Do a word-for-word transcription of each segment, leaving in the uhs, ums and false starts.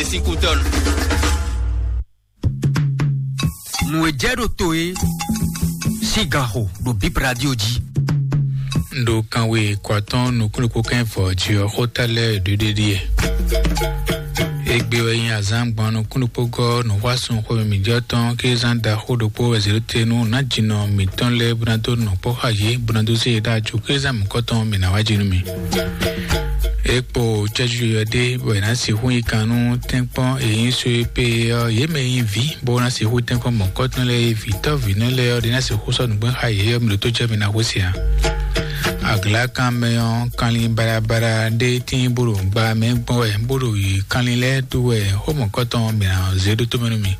Washington. Nǔ e jɛ ɖo to é sín ganxo ɖo Bip Radio jí. Un ɖo kanwe kɔ atɔ́ɔ́n nukúnnukún kɛ́n vɔ jí ɔ́, xóta lɛ́ɛ ɖuɖéɖíe. Égbé wɛ nyí azǎn gbɔn nukúnnukpógɔ́ nǔxwásún xwémɛ mǐjɔ tɔn kézán ɖaxó ɖokpó wɛ zě ɖó te nú nǎjínɔ mǐtɔn lɛ́ɛ bó ná dó nɔ kpɔ́ xá yě bó ná dó zé yě ɖó ajo kézán mǐkɔtɔn mǐ ná wá jí nú mì. É kpo cɛ́jú yɔyɔ ɖé bɔ è nǎ sixú yi kan nú tɛ́nkpɔ́n e nyí só e pé ɔ́, yě mɛ e nyí vǐ bó ná sixú tɛ́nkpɔ́n mɔ̌kɔtɔn lɛ́ɛ e vǐtɔ́ vǐnɔ lɛ́ɛ ɔ́ ɖé ná sixú sɔ́ nǔgbɛ́ xá yě ɔ́, mi ɖo tó jɛ mi ná xwé se ǎ. Aglǎkanmɛ ɔ́, kanlin baɖabaɖa ɖé tíin bó ɖo gba mɛ gbɔn wɛ, bó ɖo yi kanlin lɛ́ɛ dó wɛ, xó mɔ̌kɔtɔn mǐ ná zé ɖó tó mɛ nú mi.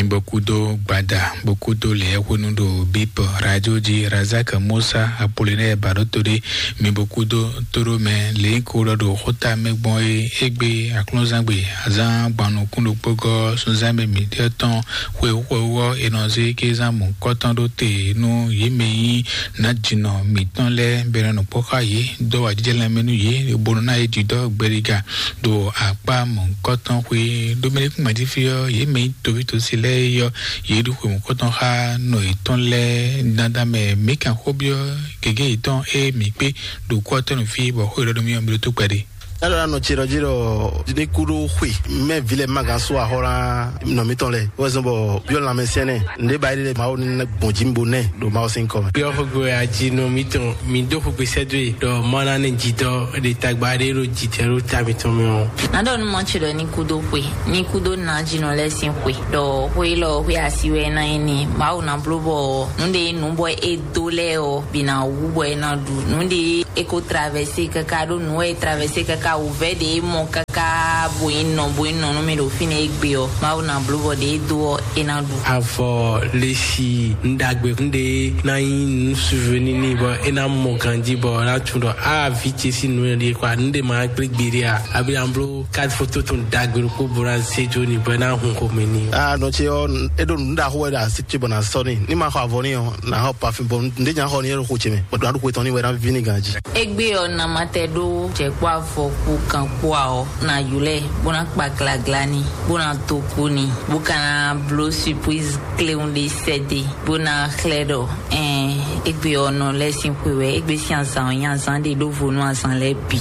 Mi bo kúdó gbada, bo kúdó lɛ̌ hwenu ɖo Bip Radio jí, Razak Musa Apollinaire Baɖótoɖé, mi bo kúdó tóɖó mɛ lě ko ɖɔ ɖo xóta mɛ gbɔn é égbé aklúnzangbe azán gbannukún ɖokpógɔ́ sunzán mɛ mǐtɔn tɔn xwe xwe ɔ́, è nɔ zé kézán mɔ̌kɔtɔn ɖó te nú yě mɛ e nyí nǎjínɔ mǐtɔn lɛ́ɛ bɔ è nɔ nɔ kpɔ́ xá yě, dó awǎjijɛ lanmɛ nú yě, bó nɔ ná yě jǐdɔ́ gbɛɖiga ɖo akpá mɔ̌hunkɔtɔn xwé. Ɖó mɛ ɖé kún gbají fí ɔ́, yě mɛ nyí toví tosi lɛ́ɛ é ɔ́, yě ɖo xwe mɔ̌hunkɔtɔn xá nɔ yětɔn lɛ́ɛ. Dandan mɛ mǐ kan xó byɔ́ gěgé yětɔn e mǐ kpé ɖo kú ɔ́ tɔn nú fí, bɔ xó yěɖɔ́ nú mì ɔ́, mi ɖó tó kpɛɖé. Nɔ ce ɖɔ jí ɖɔ ní kú ɖó xwe mɛ vi lɛ ma gán sú axɔ́ ná nɔ mǐtɔn lɛ wɛ zɔn bɔ byɔ́ lanmɛsɛnɛ nɖé ba yi ɖe Mawu ní gbɔn jí bo nɛ ɖo Mawu sín kɔ mɛ. Byɔ́ xogbe ají nɔ mǐtɔn, mǐ dó xogbe sɛ́ dó e ɖɔ Mawu ná nɛ jǐdɔ́ ɖe tagba ɖé ɖo jǐtɛ́ ɖo ta mǐtɔn mɛ ɔ́. Nǎ ɖɔ nú mɔ ce ɖɔ ní kú dó xwe, ní kú dó nǎ jínɔ lɛ́ɛ sín xwe, ɖɔ xwe élɔ́ xwe asi wɛ é ná nyí n'i. Mawu ná bló bɔ nǔɖé nǔ bɔ é dó lɛ́ɛ ɔ́ bǐ ná wú bɔ é ná ɖu. Nǔɖé é ko traverser káká ɖó nǔ wɛ é traverser káká wǔvɛ́ ɖě é mɔ káká bo nyí nɔ bo nyí nɔ nú mì ɖo fínɛ́ égbé ɔ́, Mawu ná bló bɔ ɖě é dó ɔ́ é ná ɖu. Avɔ lesi nɖagbe nɖe ná nyí nú souvenir n'i bɔ é ná mɔ ganjí bɔ é ná tunwun ɖɔ a vi ce sín nǔ e ɖe kɔ nɖe ma gblé gbeɖé a abi an bló carte photo tɔn ɖagbe ɖokpó bo ná zé jó ni bɔ é ná hun xomɛ ni. A nɔ ce ɔ́, é ɖo nǔ ɖaxó wɛ ɖo asi ce bɔ ná sɔ́ ni. Ní ma xɔ avɔ ní ɔ́, ná xɔ parfum bɔ nɖé nya xɔ ní é ɖo xo ce mɛ. Bɔ ɖo kwe tɔn ní wɛ ná ví ní ganjí. Égbé ɔ́, ná ma tɛ ɖó jɛ̌kpɔ́ avɔ kú kan kpó a ɔ́, ná ylɔ́ ɛ, bó ná kpa glagla ní, bó ná dó kú ní, bó ka ná bló surprise kléwún ɖé sɛ́ dé, bó ná xlɛ́ ɖɔ ɛn égbé ɔ́ nɔ lɛ́ sín xwe wɛ, égbé sín azǎn ɔ́ nyí azǎn ɖé ɖó vo nú azǎn lɛ́ɛ bǐ.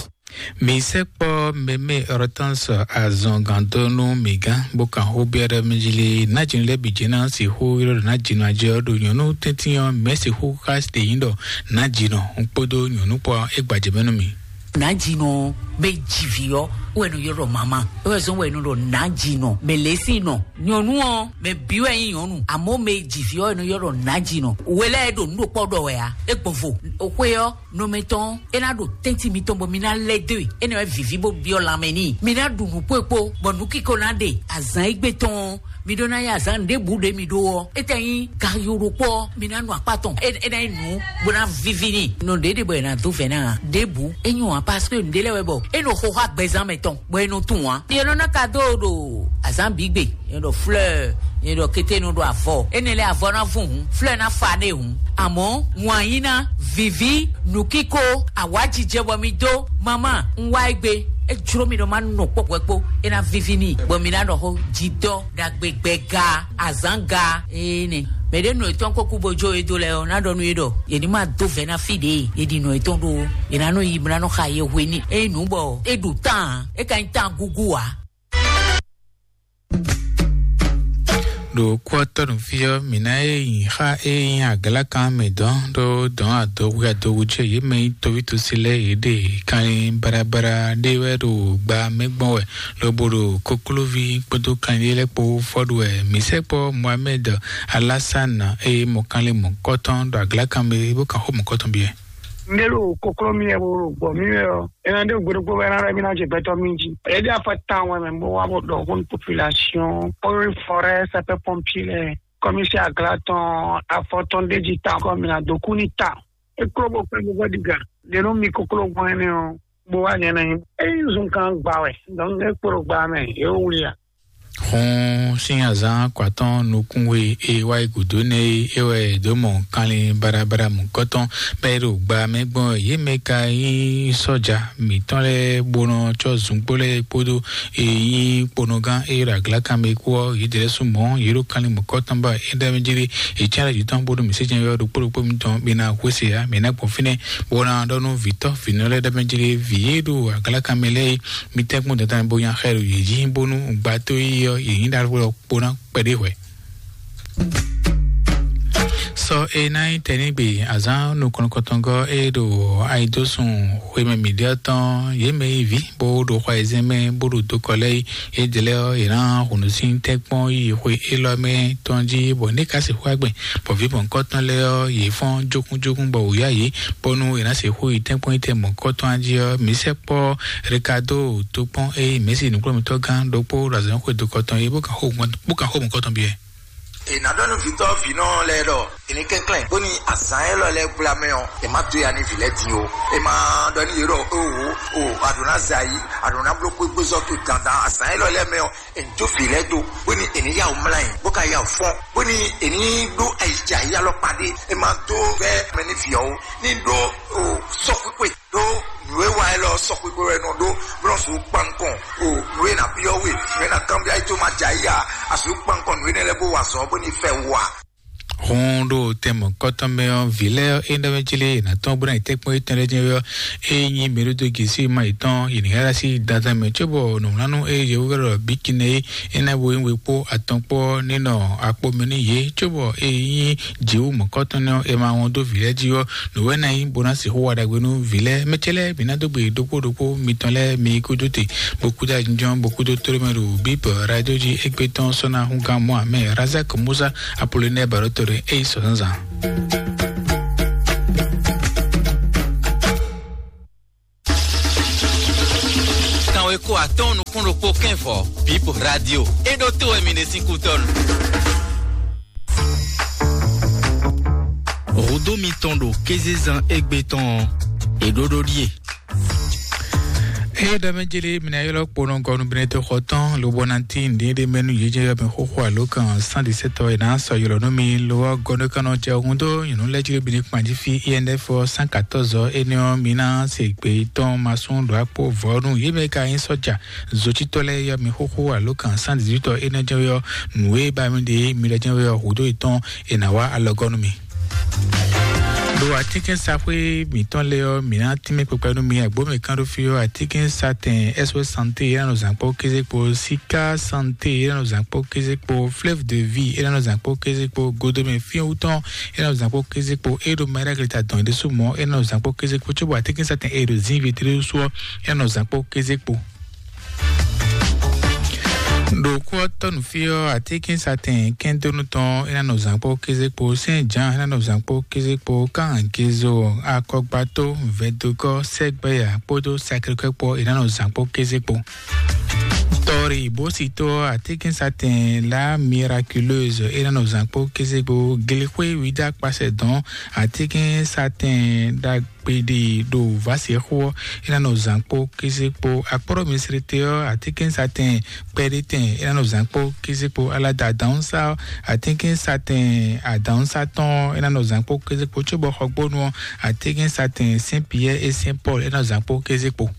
Mi sɛkpɔ mɛmɛ Hortense azɔngandonu mi gán bó kan xó biɔ ɖɔ mi jí lé. Nájínú lɛ́ɛ bǐ jɛ́n ná sixú ylɔ́ ɖɔ nájínú ajɛ ɔ́ ɖo nyɔ̌nu tɛ́ntin ɔ́ mɛ̌ sixú xá ɖe nyǐ ɖɔ nájínú kpódó nyɔ̌nu kpó ɔ́ é gbajɛ mɛ nú mi. Nájínú bɛ jivǐ ɔ́ wɛ nɔ ylɔ́ ɖɔ mama, é wɛ zɔ́n wɛ nɔ ɖɔ nájínú mɛ lě sín nɔ. Nyɔ̌nu ɔ́ mɛ bǐ wɛ nyí nyɔ̌nu, àmọ́ mɛ jivǐ ɔ́ wɛ nɔ ylɔ́ ɖɔ nájínú. Wɛ lɛ́ɛ ɖo nǔ ɖo kpɔ́ ɖɔ wɛ ǎ, é gbɔn vo. Xwe ɔ́ nɔmɛ tɔn é ná ɖo tɛ́ntin mitɔn bɔ mi ná lɛ́ dó e, énɛ́ wɛ vǐví bó byɔ́ lanmɛ n'i. Mi ná ɖu nǔ kpó e kpó, bɔ nǔ kíko ná ɖe azǎn égbé tɔn. Mi ɖó ná yí azǎn ɖěbǔ ɖě mi ɖó ɔ́, é tɛ nyí gayó ɖokpó ɔ́, mi ná nu akpá tɔn, é é ná nyí nǔ bó ná víví n'i. Nɔ ɖě ɖe bɔ è nǎ dó vɛ̌ ná a? Ɖěbǔ é nyɔ́ ǎ, parce que nǔɖé lɛ́ɛ wɛ bɔ é nɔ xo xá gbɛzán mɛ tɔn, bɔ é nɔ tunwun ǎ. Yě nɔ ná ka dó ɖo azǎn bǐ gbe. Yɛn ɖɔ fleur, yɛn ɖɔ kété nɔ ɖo avɔ. Énɛ́ lɛ́ɛ avɔ ná vún hǔn, fleur ná fa nɛ hǔn. Àmọ́ wǎn yí ná viví, nǔkíko, awǎjijɛ bɔ mi dó. Mama, un wá égbé. É jló mi ɖɔ má nɔ kpɔ́kpɔ́ kpó. É ná víví n'i, bɔ mi ná ɖɔ xó jidɔ ɖagbe gbɛga azǎnga. Ee nɛ. Mɛ ɖé nɔ etɔn kó kú bo jó e dó lɛ ɔ́, ná ɖɔ nú yé ɖɔ yě ní má dó vɛ̌ ná fí ɖě. Yě ɖi nɔ etɔn ɖó. Yě ná nɔ yi, ná nɔ xa yé hwe ní. Ényí nǔ bɔ é ɖu tán, é ka nyí tán gúgú ǎ. Ɖo kú ɔ́ tɔ́ nǔ fí ɔ́, mǐ ná é nyi xá é nyí aglakan mɛ dɔn ɖó dɔn adɔhwe adɔhwe jɛ yě mɛ nyí toví tosi lɛ́ɛ yě ɖe kanlin baɖabaɖa ɖé wɛ ɖo gba mɛ gbɔn wɛ, lobo ɖo koklóví kpódó kanlin lɛ́ɛ kpó fɔ́ ɖu wɛ. Mǐ sɛkpɔ́ Mohamed Alassane e mɔ kanlin mɔ̌kɔtɔn ɖo aglakan mɛ bó kan xó mɔ̌kɔtɔn biɛ. Ndé ɖo kokló mi wɛ bo ɖo gbɔ mi wɛ ɔ́, é ná ɖe gbe ɖokpó wɛ ná ɖɔ mí ná jɛ gbɛtɔ́ mí jí. É ɖe afɔ tawun wɛ mɛ bó wá bó ɖɔ xó nú population, eaux et forêts, sapeurs pompiers lɛ́ɛ, commissaire Agla tɔn, afɔ tɔn ɖé jí tawun kɔ mí ná dó kú ní tawun. É kló bó kpɛ́ bó gbɔ ɖiga. Ɖě nú mi kokló gbɔn énɛ́ ɔ́, bó wá nyɛ ná nyí. É nyí zunkan gba wɛ, donc é kpo ɖo gba mɛ, é wó wlí a? Xɔ́n sín azǎn kɔatɔn nukúnwe e wá yi gǔdo nɛ́ é, é wɛ è dǒ mɔ kanlin baɖabaɖa mɔ̌kɔtɔn bɔ é ɖo gba mɛ gbɔn. Yě mɛ ka nyí sɔ́ja mǐtɔn lɛ́ɛ bó nɔ cɔ́ zungbó lɛ́ɛ kpódó e nyí kponɔgán e ɖo aglakan mɛ kpó ɔ́, yě dɛ́ lɛ́ɛ sú mɔ̌, yě ɖo kanlin mɔ̌kɔtɔn ba é ɖ'é mɛ jí ɖé. È cyán ɖo jǐ tɔn bónú mǐ sí jɛ́n ylɔ́ ɖokpó ɖokpó mitɔn mǐ ná hwesé ǎ, mǐ ná gbɔn fínɛ́ bó ná ɖɔ nú vǐtɔ́ vǐnɔ lɛ́ɛ ɖ'é mɛ jí ɖé, vǐ e ɖo aglakan mɛ lɛ́ɛ é, mi tɛ́nkpɔ́n dandan bo nya xɛ ɖo yě jí, bónú gbàtó yi ɔ́, yě nyí ɖaxó ɔ́ kpo ná kpɛɖé hwɛ̌. Sɔ e ná nyí tɛnígbe azǎn nukɔn nukɔntɔngɔ́ e ɖo ayidósun xwemɛ mǐɖé ɔ́ tɔn, yě mɛ yi vǐ bó ɖo xɔ ayizɛ́n mɛ bó ɖo dokɔ lɛ́ɛ yi. Édɛlɛ́ ɔ́, yě ná hun nǔ sín tɛ́nkpɔ́n yi xwe élɔ́ mɛ tɔn jí, bɔ ní ka sixú agbɛn, bɔ vǐ mɔ̌hunkɔtɔn lɛ́ɛ ɔ́, yě fɔ́n jókúnjókún bɔ wǔ yá yě, bónú è nǎ sixú yi tɛ́nkpɔ́n yi tɛn mɔ̌hunkɔtɔn jí ɔ́, mǐ sɛkpɔ́ Ricardo tokpɔn e mǐ si nǔkplɔ́nmítɔ́ gán ɖokpó ɖo azɔ̌ xwe dokɔ tɔn é, bó kan xó mɔ̌hunkɔtɔn bó kan xó mɔ̌hunkɔtɔn byɔ́ ɛ. È nǎ ɖɔ nú vǐtɔ́ vǐnɔ lɛ́ɛ ɖɔ è ní kɛnklɛ́n bónú azǎn élɔ́ lɛ́ɛ gbla mɛ ɔ́, è má dó ya nú vǐ lɛ́ɛ din ó. È má ɖɔ nú yě ɖɔ: "O, o, o, a ɖǒ ná zɛ ayǐ, a ɖǒ ná bló xwégbézɔ́ towe dandan azǎn élɔ́ lɛ́ɛ mɛ ɔ́, è ní jó vǐ lɛ́ɛ dó, bónú è ní yá wǔ mlá nyi, bó ka yá wǔ fɔ́n, bónú è ní ɖó ayǐjayí alɔkpa ɖé. È má dó vɛ́ mɛ nú vǐ ɔ́ ó, ní ɖó, o, sɔ́xwíxwe ɖó nǔ e wa élɔ́ sɔ́xwíxwe wɛ nɔ ɖó, bó nɔ sixú kpan nukɔn, o, nǔ e ná byɔ́ we, nǔ e ná kanbyɔ́ ayí tó má jɛ ayí ǎ, a sixú kpan nukɔn nǔ énɛ́ lɛ́ɛ bó wa azɔ̌ bó ní fɛ wú ǎ." Hun ɖo tɛn mɔ̌hunkɔtɔn mɛ ɔ́, vǐ lɛ́ɛ ɔ́, é ɖɔ mɛ jí lé è nǎ tɔ́n bó ná yi tɛ́nkpɔ́n étɛn lɛ́ɛ jɛ́n ɔ́, é nyí mɛ ɖó dó gěsí ma yětɔn, yě ní ká sí dandan mɛ cóbɔ nǔwlánú e yě wú ɖɔ bǐ kinɛ é, é ná bo nyí we kpó atɔn kpó ɔ́, ní nɔ akpo mɛ nú yě, cóbɔ é nyí jǐwú mɔ̌kɔtɔn nɛ́ ɔ́, è ma wɔn dó vǐ lɛ́ɛ jí ɔ́, nǔ wɛ ná nyí bó ná sixú wa ɖagbe nú vǐ lɛ́ɛ. Mɛ ce lɛ́ɛ, mǐ ná dó gbe ɖokpó ɖokpó mitɔn lɛ́ɛ, mi kú dó te, bó kú dó ajínjɔ́n, bó kú dó tlóló mɛ ɖo bíbɔ radio jí égbé tɔn sɔ́ ná hún gán mɔ amɛ Razak Musa Apollinaire Barotore é yi sɔ zǎnzǎn. Kanweko atɔ́ɔ́n nukún ɖokpó kɛ́n vɔ̌, Bíbɔ Radio, é ɖótó wɛ mi ɖe sín kútɔ́nu. Hǔdó mitɔn ɖo kézezán égbé tɔn ɔ́, è ɖó ɖó ɖíe. Eye ɖɔ mɛ jeli mina yɔlɔ kponɔ gɔnu bene to xɔ tɔn lobɔ na ti ndi ɖe mɛnu yedze yɔ mi xoxo alo kan cent dix-sept ɔ ina sɔ yɔlɔ nɔ mi lo ɔ gɔnu kanɔ jɛ ohun do nyɔnu lɛ jeli bini kpanji fi I N F ɔ cent quatorze ɔ ene ɔ mina se gbe tɔn masun ɖo akpo vɔnu ye mɛ ka yin sɔja zotitɔ lɛ yɔ mi xoxo alo kan cent dix-huit ɔ ene jɛ yɔ nue ba mi de mi lɛ jɛ yɔ hudo itɔn ina wa alɔgɔnu mi. Ɖo atínkɛ́nsaxwé mǐtɔn lɛ́ɛ ɔ́, mǐ ná tínmɛ kpekpe nú mi. Agbǒmɛ kán ɖó fí ɔ́, atínkɛ́nsatɛn S O S Santé é ná nɔ zǎn kpɔ́ kéze kpo, Sika Santé é ná nɔ zǎn kpɔ́ kéze kpo, Fleuve de Vie é ná nɔ zǎn kpɔ́ kéze kpo, Godomɛ Fyɛ́wútɔn é ná nɔ zǎn kpɔ́ kéze kpo, é ɖo Maɖagleta dɔn é ɖésú mɔ̌ é ná nɔ zǎn kpɔ́ kéze kpo, cóbɔ atínkɛ́nsatɛn é ɖo Zǐnví é ɖésú ɔ́ é ná nɔ zǎn kpɔ́ kéze kpo. Ɖo kú ɔ́ tɔ́ nǔ fí ɔ́, atínkɛ́nsatɛn kɛ́ndónú tɔn é ná nɔ zǎn kpɔ́ kéze kpo, Sɛ́n Jǎan é ná nɔ zǎn kpɔ́ kéze kpo, Kángezo, Akɔgbató, Vɛdogɔ́, Sɛgbɛya kpódó Sakrɛkɔ́ kpó é ná nɔ zǎn kpɔ́ kéze kpo. Tɔ́rí bó si tó ɔ́, atínkɛ́nsatɛn La Miraculeuse é ná nɔ zǎn kpɔ́ kéze kpo, Glexwé Wídá kpasɛ dɔn, atínkɛ́nsatɛn ɖagbe kpeɖi ɖo vǎsexó ɔ́, é ná nɔ zǎn kpó kéze kpó. Akpɔ́ɖɔ Misirite ɔ́, atínkɛ́nsatɛn kpɛɖétɛn é ná nɔ zǎn kpó kéze kpó. Alada adǎnsá ɔ́, atínkɛ́nsatɛn adǎnsá tɔn ɔ́, é ná nɔ zǎn kpó kéze kpó. Cóbɔ xɔgbónu ɔ́, atínkɛ́nsatɛn Sɛ́n Piyɛ́ɛ é Sɛ́n Pɔ́lu é ná nɔ zǎn kpó kéze kpó.